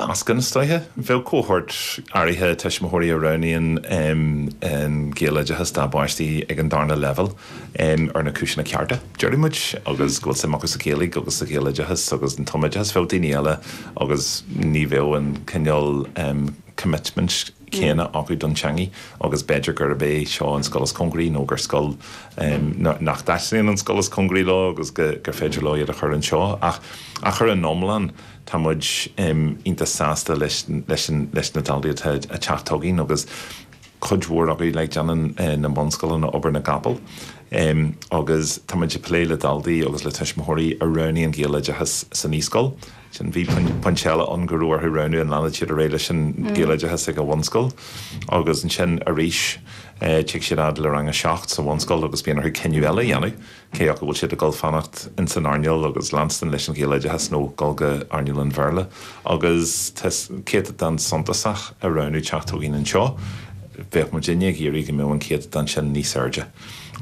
Meascán, is dóiche. Bheadh cohórt áirithe tuismitheoirí a roghnaíonn an Gaeloideachas dá bpáistí ag an darna leibhéal ar na cúiseanna cearta, déarfaidh muid, agus go bhfuil suim acu sa Ghaeilge agus sa Ghaeloideachas agus an tumoideachas. Bheadh daoine eile agus ní bheadh an cineál commitment céanna acu don teangaidh agus b'fhéidir gurb é seo an scoil is cóngaraí nó gur scoil nach dtaitníonn an scoil is cóngaraí leo agus gur féidir leo iad a chur anseo. Ach ar an iomlán, Tá muid iontach sásta leis leis na daltaí atá ag teacht chugainn agus cuid mhór acu like déanann na bunscoileanna obair na gcapall agus tá muid ag plé le daltaí agus le tuismitheoirí a roghnaigh an Gaeloideachas sa naíscoil. Sin bhí pointe eile ann go raibh orthu roghnú an leanfadh siad ar aghaidh leis an Gaeloideachas ag an bhunscoil agus ansin arís tig siad fhad le rang a 7 sa bhunscoil agus bíonn orthu cinneadh eile a dhéanamh. cé acu bhfuil siad ag dul fanacht ins an earnáil agus leanstan leis an Ghaeloideachas nó dul go earnáil an Bhéarla agus tá céatadán suntasach ag roghnú teacht chugainn anseo. Bheadh muidinne ag iarraidh go mbeadh an céatadán sin níos airde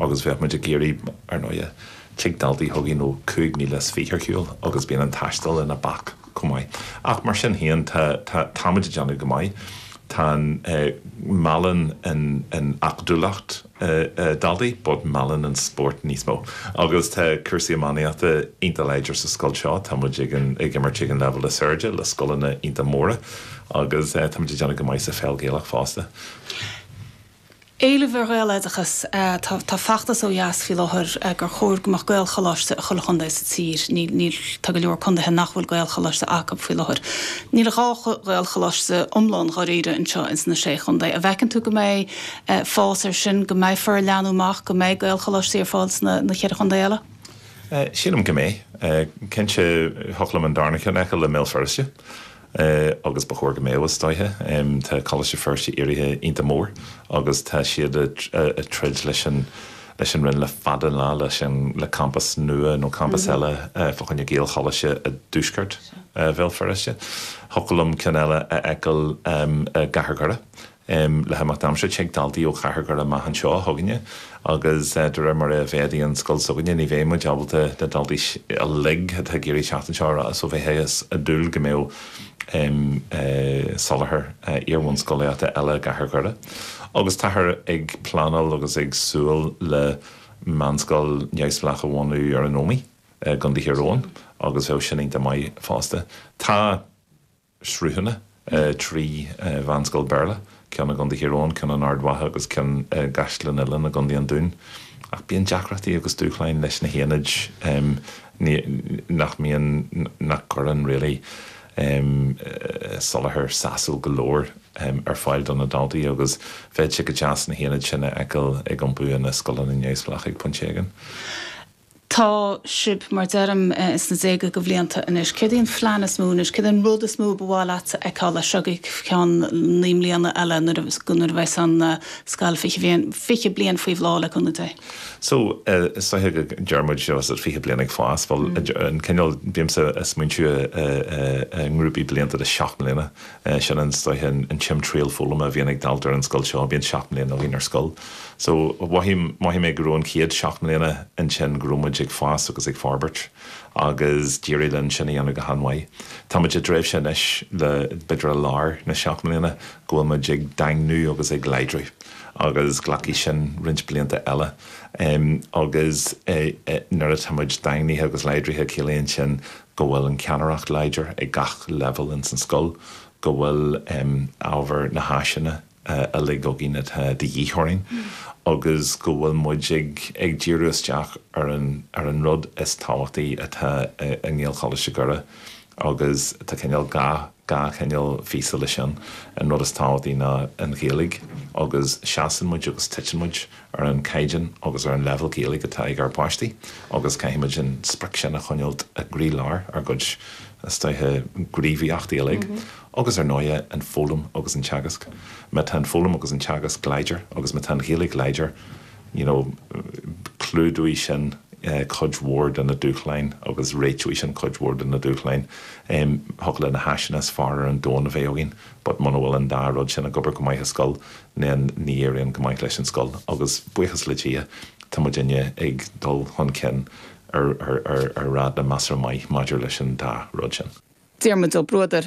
agus bheadh muid ag iarraidh, ar ndóighe, tig daltaí chugainn ó 25,000 ar shiúl agus bíonn an taisteal ina bac chomh maith. Ach mar sin féin tá, tá, táimid ag déanamh go maith. Tá an, meallann an, an acadúlacht, daltaí, but meallann an spórt níos mó. Agus tá cúrsaí iománaíochta iontach láidir sa scoil seo, tá muid ag an ag imirt ag an leibhéal is airde le scoileanna iontach móra agus tá muid ag déanamh go maith sa pheil Ghaelach fosta. Éileamh ar Ghaeloideachas, Tá tá feachtas ó dheas faoi láthair gur chóir go mbeadh Gaelcholáiste i chuile chontae sa tír. Níl níl tá go leor contaetha nach bhfuil Gaelcholáiste acu faoi láthair. Níl ach 2 Ghaelcholáiste iomlán dháiríre anseo ins na Sé Chontae. An bhfeiceann tú go mbeidh fás air sin, go mbeifear ag leathnú amach, go mbeidh Gaelcholáistí ar fáil sna na cheithre chontae eile? Sílim go mbeidh. Cinnte, thiocfadh liom an darna ceann a fheiceáil i mBéal Feirste agus ba chóir go mbeadh, is dóiche. Tá Coláiste Feirste éirithe iontach mór agus tá siad ag troid leis an leis an Roinn le fada an lá leis an le campas nua nó campas eile fá choinne Gaelcholáiste i dtuaisceart Bhéal Feirste. Thiocfadh liom ceann eile a fheiceáil i gCathair Dhoire. Le himeacht aimsire, tig daltaí ó Chathair Dhoire amach anseo chugainne agus de réir mar a mhéadaíonn an scoil s'againne ní bheidh muid ábalta na daltaí uilig atá ag iarraidh teacht anseo a so bheifeá ag dúil go mbeadh soláthar iar-bhunscolaíochta eile i gCathair Dhoire. Agus táthar ag pleanáil agus ag súil le meánscoil neamhspleách a bhunú ar an Ómaigh i gContae Thír Eoghain agus bheadh sin iontach maith fosta. Tá. sruthanna, 3 mheánscoil Béarla, ceann i gContae Thír Eoghain, ceann in Ard Mhacha agus ceann i gCaisleán Uidhilín i gContae an Dúin. Ach bíonn deacrachtaí agus dúshláin leis na haonaid nach mbíonn, nach gcuireann really soláthar sásúil go leor ar fáil do na daltaí agus bheadh sé go deas na haonaid sin a fheiceáil ag iompú ina scoileanna neamhspleácha ag pointe éigin. Tá sibh, mar deirim, ins na déaga de bhlianta anois. Céard é an phlean is mó anois? Céard é an rud is mó ba mhaith leat a fheiceáil as seo go ceann 9 mbliana eile nuair a nuair a bheas an scoil 20 bhliain, 20 bliain faoi bhláth le cúnamh Dé? So, is dóiche go ndeir muid, is it 20 bliain ag fás, bhuel, an cineál, bímse ag smaointiú i ngrúpaí blianta de 7 mbliana. Sin an, is dóiche, an timthriall foghlama a bhíonn ag dalta ar an scoil seo, bíonn 7 mbliana againn ar scoil. So, mhothaigh, mhothaigh mé go raibh an chéad 7 mbliana ansin go raibh muid ag fás agus ag forbairt agus d'éirigh linn sin a dhéanamh go han-mhaith. Tá muid i dtréimhse anois le, b'fhéidir i lár na seacht mbliana, go bhfuil muid ag daingniú agus ag láidriú agus glacfaidh sin roinnt blianta eile. Agus nuair atá muid daingnithe agus láidrithe ciallaíonn sin go bhfuil an ceannaireacht láidir ag gach leibhéal ins an scoil, go bhfuil ábhar na háiseanna uilig againn atá de dhíth orainn agus go bhfuil muid ag ag díriú isteach ar an ar an rud is tábhachtaí atá i nGaelcholáiste Dhoire agus tá cineál dhá dhá chineál phíosa leis sin. An rud is tábhachtaí ná an Ghaeilge agus seasann muid agus titeann muid ar an caighdeán agus ar an leibhéal Gaeilge atá ag ár bpáistí agus caithfidh muid an sprioc sin a choinneáilt i gcroílár ár gcuid, is dóiche, gníomhaíochtaí uilig. Agus ar ndóighe, an foghlaim agus an teagasc. Má tá an foghlaim agus an teagasc láidir agus má tá an Ghaeilge láidir, you know, clúdóidh sin cuid mhór de na dúshláin agus réiteoidh sin cuid mhór de na dúshláin. Thiocfadh le na háiseanna is fearr ar an domhan a bheith againn but muna bhfuil an dá rud sin ag obair go maith i scoil, then ní éiríonn go maith leis an scoil agus buíochas le Dia tá muidinne ag dul chun cinn ar ar ar ar ráta measartha maith maidir leis an dá rud sin. Diarmuid Ó Bruadair.